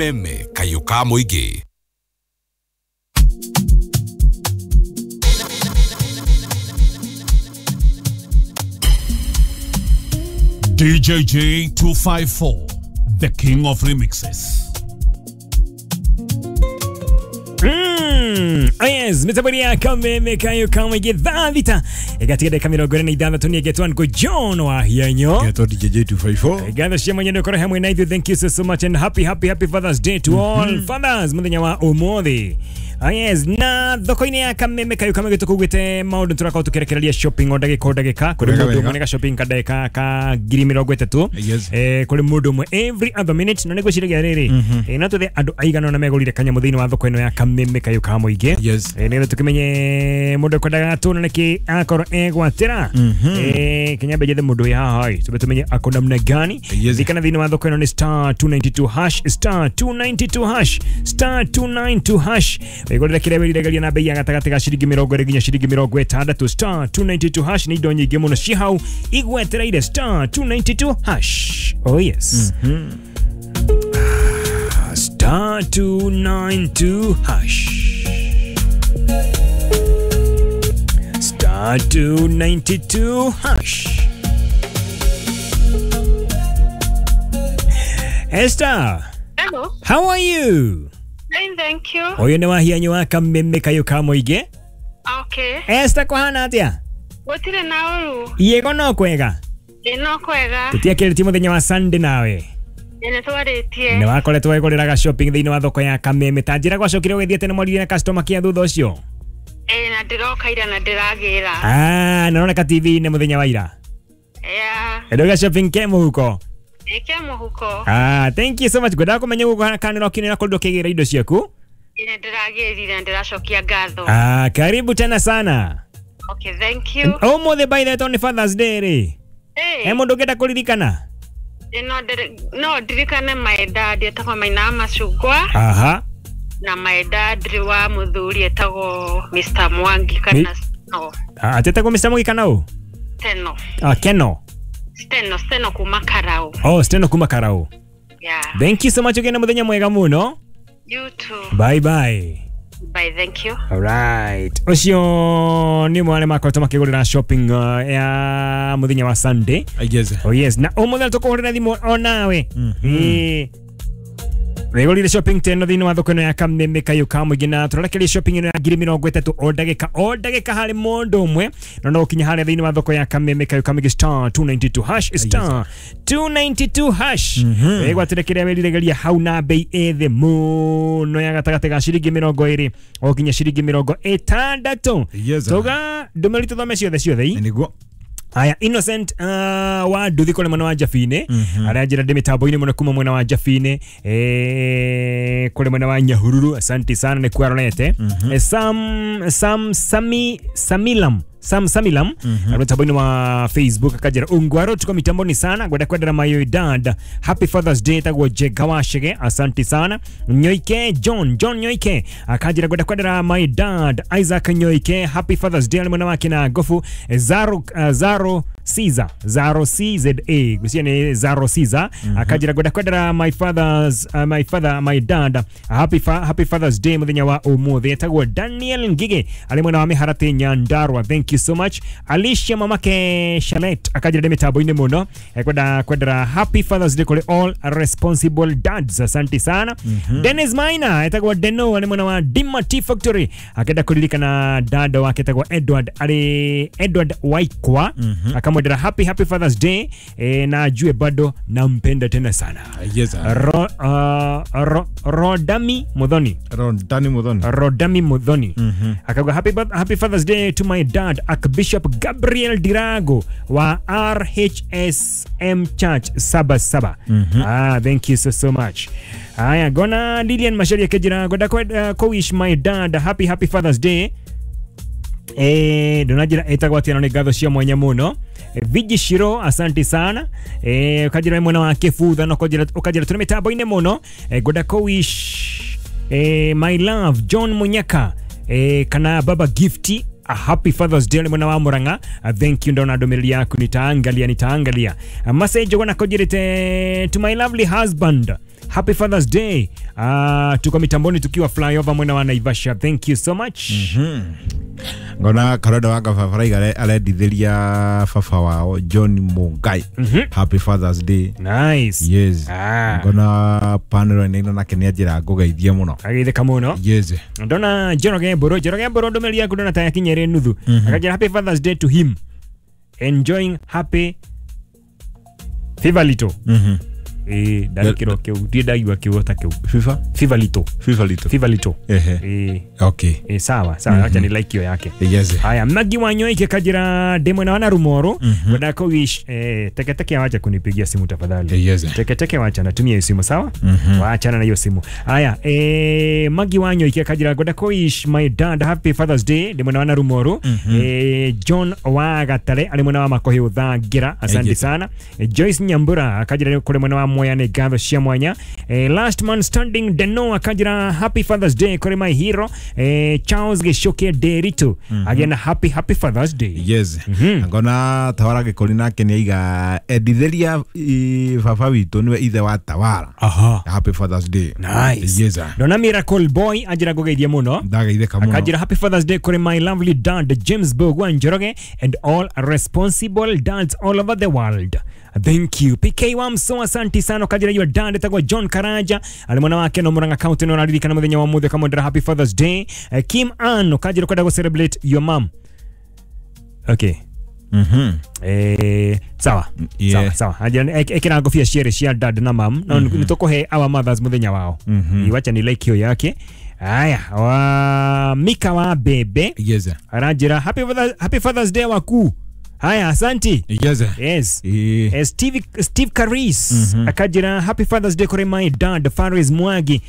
Meme kayũ ka mũingĩ. DJJ 254, the king of remixes. Yes, mitabaria kameme kayo kamwe thaa thita ĩgatiga ndagĩka 46 nĩ ngo John wa Hianyo. Getwo DJ 254. Gatho cia mwenye nĩ ũkorwo hamwe na ithuĩ. Thank you so, so much and happy, happy, happy Father's Day to all fathers mũthenya wa ũmũthĩ. Ah, yes, na thoko-inĩ ya kameme kayo kamwe tũkugĩte maũndũ tũrakorwo tũkĩrekereria shopping o ndagĩka o ndagĩka kũrĩ Wega, mũndũ wega. ũmwe nĩ ga shopping ka ndagĩka ka 30,000. Kũrĩ mũndũ ũmwe every other minute na nĩngwĩciragia rĩrĩ, no tũthe andũ aigana ũna megũrire kanyamũ thĩinĩ wa thoko ĩno ya kameme kayo ka mũingĩ. Nĩgetha tũkĩmenye mũndũ ekwendaga tũna nĩkĩ akorwo egwatĩra. Kinyambe njethe mũndũ wĩ haha ĩ tũbe tũmenye ako namna gani. Thikana thĩinĩ wa thoko ĩno nĩ star 292 hash, star 292 hash, star 292 hash. Wĩgũrĩre kĩrĩa wĩriragĩria na bei ya gatagatĩ ga ciringi 20 nginya ciringi 60. Star 292 hash, nĩ indo nyingĩ mũno ci hau igwetereire. Star 292 hash, oh yes. Star 292 hash, star 292 hash. Esther. Hello. How are you? Fine, thank you. Ũyũ nĩ wahianyu wa kameme kayũ ka mũingĩ. Okay. Esther, kũhana atĩa? Gũtirĩ na ũru. Iĩgo no kwega. Ĩ no kwega. Tũtiakĩrĩtie mũthenya wa Sunday nawe. Ĩ nĩ twarĩtie. Nĩ wakoretwo wĩgũrĩraga shopping thĩinĩ wa thoko ya kameme, ta njĩra gwacokire ũgĩthiĩte nĩ mwarire na customer care thutha ũcio? Ĩ na ndĩroka ira na ndĩragĩra. Ah, naroneka TV-inĩ mũthenya wa ira. Yeah. Ndauga shopping ke mũhuko. Ĩ ke mũhuko. Ah, thank you so much. Ngwendaga kũmenya ũguo kana nĩ ũrakenera kũndũ ũkĩgĩra indo ciaku. Ĩ nĩ ndĩragĩrire na ndĩracokia ngatho. Ah, karibu tena sana. Okay, thank you. Ũmũthĩ by the way tondũ nĩ Father's Day rĩ, he Ĩ mũndũ ũngĩenda kũririkana? ĩ no ndirikane my dad etagwo Maina wa Macungwa na my dad wa mũthuri etagwo Mr. Mwangi kana no. Ah, atetagwo Mr. Mwangi kana ũ? Steno. Ah, Keno. Steno, Steno kuma Karau. Oh, Steno kuma Karau. Yeah. Thank you so much, ũgĩe na mũthenya mwega mũno. You too. Bye bye. Bye, thank you. Alright. Ũcio nĩ ũmwe wa arĩa makoretwo makĩgũrĩra shopping ya mũthenya wa Sunday. Yes. Oh yes, na ũmũthĩ tũkũhũrĩra thimũ o nawe. Ĩĩ. Wĩgũrire shopping teno thĩinĩ wa thoko ĩno ya kameme kayũ ka mũingĩ na tũrarekereria shopping ĩno ya 30,000 o ndagĩka o ndagĩka harĩ mũndũ ũmwe na no ũkinye harĩa thĩinĩ wa thoko ya kameme kayũ ka mũingĩ, star 292 hash, star 292 hash, wĩgwatĩre kĩrĩa wĩriragĩria hau na bei ĩthĩ mũno ya gatagatĩ ga ciringi 20 o nginya ciringi 60. Tuga ndũmĩrĩri tũthome ciothe ciothe i. Nĩguo. Aya, Innocent wa nduthi kũrĩ mwena wa Jabinĩ arĩa njĩra ndĩ mĩtambo-inĩ mũno kuma mwena wa Jabinĩ, kũrĩ mwena wa Nyahururu, asante sana nĩ kuarorete. Sam Sam Sami Samilam Sam Samilam arĩ mĩtambo-inĩ wa Facebook akanjĩra ungwaro tuko mitamboni sana, ngwenda kwendera my dad happy Father's Day tagwo Jenga wa Chege, asante sana. Nyoike John John Nyoike akanjĩra ngwenda kwendera my dad Isaac Nyoike happy Father's Day arĩ mwena wake na gofu Zaro, Zaro Caesar, Zaro CZA, gwĩciria nĩ Zaro Caesar, akanjĩra ngwenda kwendera my father's my father, my dad happy Father's Day mũthenya wa ũmũthĩ etagwo Daniel Ngige arĩ mwena wa Mĩharatĩ Nyandarua, thank you so much. Alicia mamake Shalet akanjĩra ndĩ mĩtambo-inĩ mũno, ekwenda kwendera happy Father's Day kũrĩ all responsible dads, asante sana. Dennis Maina etagwo Deno arĩ mwena wa Dima Tea Factory akenda kũririkana dada wake etagwo Edward, arĩ Edward Waikwa, akamwendera happy Father's Day, na ajue bado nampenda tena sana. Rodami Muthoni. Rodani Muthoni. Rodami Muthoni akauga happy Father's Day to my dad Archbishop Gabriel Dirago wa RHSM Church Saba Saba. Ah, thank you so so much. Aya, gona Lilian Masharia kejira ngwenda wish my dad happy Father's Day. Ndonajira etagwo atia na nĩ ngatho cia mwanya mũno. Viji Shiro, asante sana. Ũkanjĩra mwena wa kĩbutha na ũkanjĩra tũrĩ mĩtambo-inĩ mũno. Ngwenda kũ wish my love John Munyaka, kana Baba Gifty a happy Father's Day mwena wa Murang'a. Thank you, ndona ndũmĩrĩri yaku, nitaangalia nitaangalia. Message gona kũnjĩrĩte to my lovely husband Happy Father's Day. Tuko mitamboni tukiwa flyover mwena wa Naivasha. Thank you so much. Ngona karoda waka fafaraiga arendithĩria baba wao John Mungai. Happy Father's Day. Nice. Yes. Ngona panel nĩ nake nĩ anjĩra ngũgeithie mũno. Ageithĩka mũno. Yes. Ndona Njoroge Mburu, Njoroge Mburu ndũmĩrĩri yaku ndona ta yakinya ĩrĩ nuthu. Akanjĩra happy Father's Day to him. Enjoying happy Fever Lito. Ndarĩkĩrwo kĩu ndirĩ ndaigua kiugo ta kĩu. FIFA? Fever Lito. Fever Lito. Fever Lito. Ehe. Okay. Sawa, sawa, acha ni like hiyo yake. Yes. Haya, Magi Wanyoike kajira ndemwe na wana Rumoro. Wenda ko wish teke teke wacha kunipigia simu tafadhali. Yes. Teke teke wacha natumia hiyo simu sawa? Waachana na hiyo simu. Haya, Magi Wanyoike kajira gwenda ko wish my dad happy Father's Day ndemwe na wana Rumoro. John Wagatare ari mwena wa Makohi Uthangira, asante sana. Joyce Nyambura kajira kule mwena wa Moya nĩ ngatho cia mwanya. Last man standing Deno akajira happy Father's Day kuri my hero Charles Gichuki Nderitu. Again happy happy Father's Day. Yes. Ngona Tawara Gĩkũri nake nĩ aiga endithĩria baba witũ nĩwe ithe wa Tawara. Aha. Happy Father's Day. Nice. Yes. Ndona Miracle Boy anjira ngũgeithie mũno. Ndageithĩka mũno. Akajira happy Father's Day kuri my lovely dad James Bogwa Njoroge and all responsible dads all over the world. Thank you. PK Wamso asante sana kajira your dad etagwo John Karanja ali mwana wake no Murang'a County no araririkana muthenya wa muthe kamwendera happy Father's Day. Kim Ann kajira kwenda go celebrate your mom. Okay. Sawa. Yeah. Sawa sawa. Ajira ekira ngobia cierĩ cia dad na mom. No nitukuhe our mothers muthenya wao. Iwacha ni like hiyo yake. Aya, wa Mika wa Bebe. Yes. Aranjira happy Father's Day waku. Haya, asante. Yes. Yes. Steve Caris akajira happy Father's Day kuri my dad Faris Mwagi.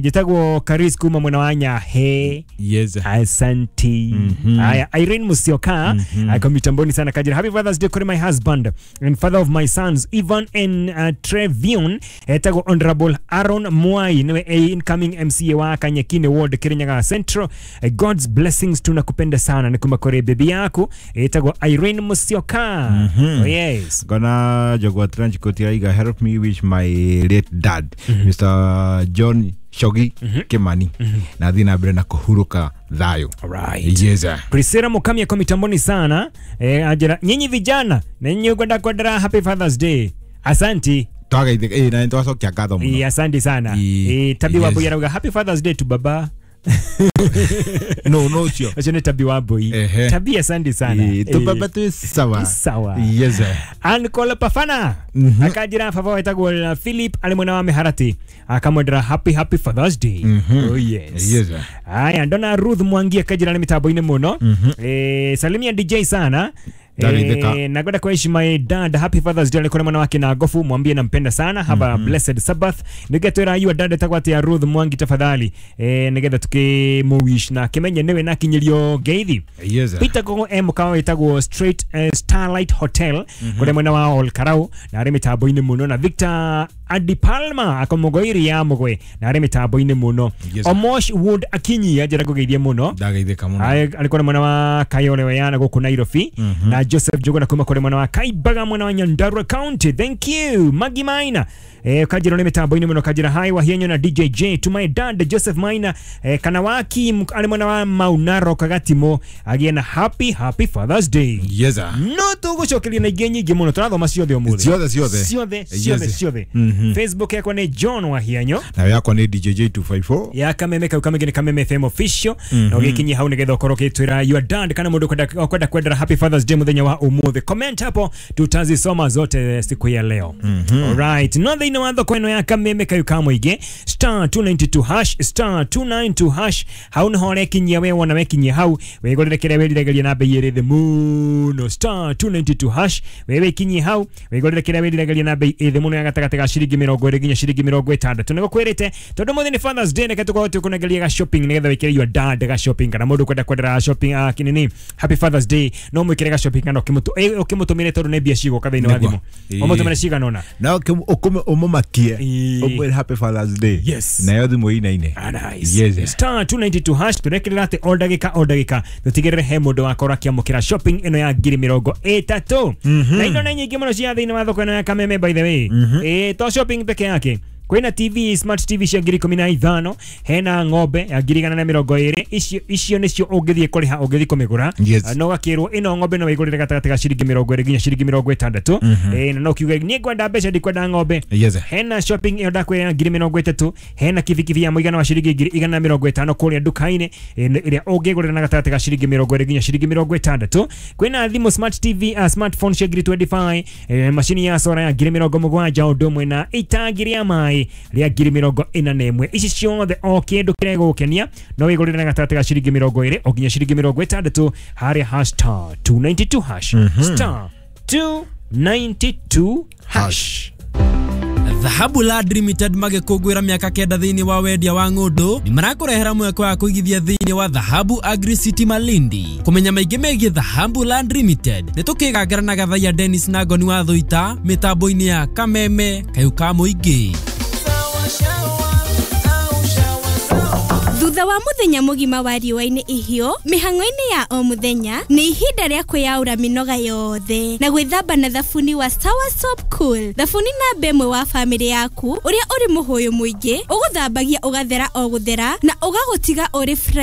Jitagwo Caris kuma mwena wa Nyahe. Yes. Asante. Haya, Irene Musioka ako mitamboni sana akajira happy Father's Day kuri my husband and father of my sons Ivan and Trevion. Etagwo Honorable Aaron Mwai niwe incoming MCA wa Kanyekine Ward Kirinyaga Central. God's blessings tunakupenda sana ni kuma kuri bibi yako etagwo Irene Musioka. Oh, yes. Gona Jogwa Trench Coat aiga help me wish my late dad Mr. John Shogi Kimani na thiĩ na mbere na kũhurũka thayũ. Alright. Yes. Priscilla Mukamia kwa mitamboni sana. Ajira nyinyi vijana na nyinyi kwenda kwendera happy Father's Day. Asante. Twagaithĩka na nĩtwacokia ngatho mũno. Asante sana. Tabi wa Boy arauga happy Father's Day to baba. No sio. Acho ni Tabi wa Boy. Tabi asante sana. Tu baba tu sawa. Sawa. Yes. Ankola Pafana. Akajira baba wetagwo Philip ali mwena wa Miharati. Akamwendera happy happy Father's Day. Oh yes. Yes. Aya ndona Ruth Mwangi akajira ni mitambo-inĩ mũno. Salimia DJ sana. Na kwenda kuishi my dad happy Father's Day alikona mwana wake na gofu mwambie nampenda sana have a blessed Sabbath nigetwira you dad etagwo atia Ruth Mwangi tafadhali nigetha tukimuwish na kimenye niwe na kinyirio ngeithi. Yes. Peter Gogo M kawa etagwo Straight Starlight Hotel kule mwena wa Olkarau na ari mitambo-inĩ mũno na Victor Adi Palma akomogoiri ya mugwe na ari mitambo-inĩ mũno. Yes. Omosh Wood Akinyi ajira kugeithie mũno. Ndageithĩka mũno. Alikuwa mwena wa Kayole Wayana gũkũ Nairobi na Joseph Jogona kuma kule mwena wa Kaibaga mwena wa Nyandarua County. Thank you. Magi Maina kajira ni mitambo-inĩ mũno kajira hai wa hienyo na DJ J to my dad Joseph Maina Kanawaki ali mwena wa Maunaro Kagatimo agie na happy happy Father's Day. Yes. No tũgũcokeria na ingĩ nyingĩ mũno tũrathoma ciothe ũmũthĩ. Ciothe ciothe. Ciothe ciothe. Facebook yakwa nĩ John Wahianyo na yakwa nĩ DJ J254 ya Kameme kau kamege nĩ Kameme FM official na ũgĩkinyia hau nĩgetha ũkorwo ũgĩtwĩra your dad kana mũndũ kwenda kwendera happy Father's Day mũthenya wa ũmũthĩ. Comment hapo tutazisoma zote siku ya leo. Alright, no thĩinĩ wa thoko ĩno ya Kameme kau kamũingĩ star 292 hash star 292 hash hau nĩho ũrekinyia we wona wekinyia hau wĩgũrĩre kĩrĩa wĩriragĩria na bei ĩrĩ thĩ mũno star 292 hash wewe ikinyie hau wĩgũrĩre kĩrĩa wĩriragĩria na bei ĩrĩ thĩ mũno ya gatagatĩ ga ciringi 20 nginya ciringi 60 nĩgũkwĩrĩte tondũ mũthĩ nĩ Father's Day reke tũkorwo tũkũnengeria ga shopping nĩgetha wĩkĩre your dad ga shopping kana mũndũ kwenda kwendera shopping kinini happy Father's Day no mwĩkĩre ga shopping kana ũkĩmũtũmĩre tondũ nĩ mbia cigũka thĩinĩ wa thimũ ũmũtũmĩre cigana ũna na ũmũmakie ũmwĩre happy Father's Day. Yes. Nayo thimũ ĩinaine. Nice. Yes. Star 292 hash tũrekĩrĩra atĩ o ndagĩka o ndagĩka tũtigĩrĩre he mũndũ wakorwo akĩamũkĩra shopping ĩno ya ngiri 30 na indo nĩ nyingĩ mũno cia thĩinĩ wa thoko ĩno ya Kameme by the way. To Shopping peke yake. Kwĩna TV, smart TV cia 15,000, hena ng'ombe ya 120,000. Icio nĩcio ũngĩthiĩ kũrĩha ũngĩthiĩ kũmĩgũra. Yes. No gakĩrwo ĩno ng'ombe no ĩgũrĩre gatagatĩ ga ciringi 20 nginya ciringi 60. Na no kiuge niĩ ngwenda mbeca, ndikwenda ng'ombe. Yes. Hena shopping ĩyo ndakwĩra ya 30,000, hena kibikibi ya mũigana wa ciringi 150,000 kũrĩa nduka-inĩ, ĩrĩa ũngĩgũrĩra na gatagatĩ ga ciringi 20 nginya ciringi 60. Kwĩna thimũ, smart TV, smartphone cia 25,000, macini ya sora ya 70,000, ũndũ ũmwe na itangi rĩa maĩ rĩa 41,000. Ici ciothe o kĩndũ kĩrĩa gĩgũkenia no wĩgũrĩre na gatagatĩ ga ciringi 20 o nginya ciringi 60 harĩa hash star 292 hash, star 292 hash. Dhahabu Land Limited magĩkũngũĩra mĩaka 9 thĩinĩ wa wendia wa ng'ũndũ nĩ marakũrehera mweke wa kũigithia thĩinĩ wa Dhahabu Agri City Malindi. Kũmenya maingĩ megiĩ Dhahabu Land Limited nĩ tũkĩgangara na Gathaiya Dennis na Ngoni wa Thũita mĩtambo-inĩ ya Kameme Kayũ ka Mũingĩ. Thutha wa muthenya mugima wa riũa-inĩ ihiũ, mĩhang'o-inĩ ya o mũthenya, nĩ ihinda rĩa kwĩyaũra mĩnoga yothe na gwĩthamba na thabuni wa Sawa Soap Cool. Thabuni namba ĩmwe wa bamĩrĩ yaku, ũrĩa ũrĩ mũhũyũ mũingĩ, ũgũthambagia ũgathera o gũthera na ũgagũtiga ũrĩ fresh.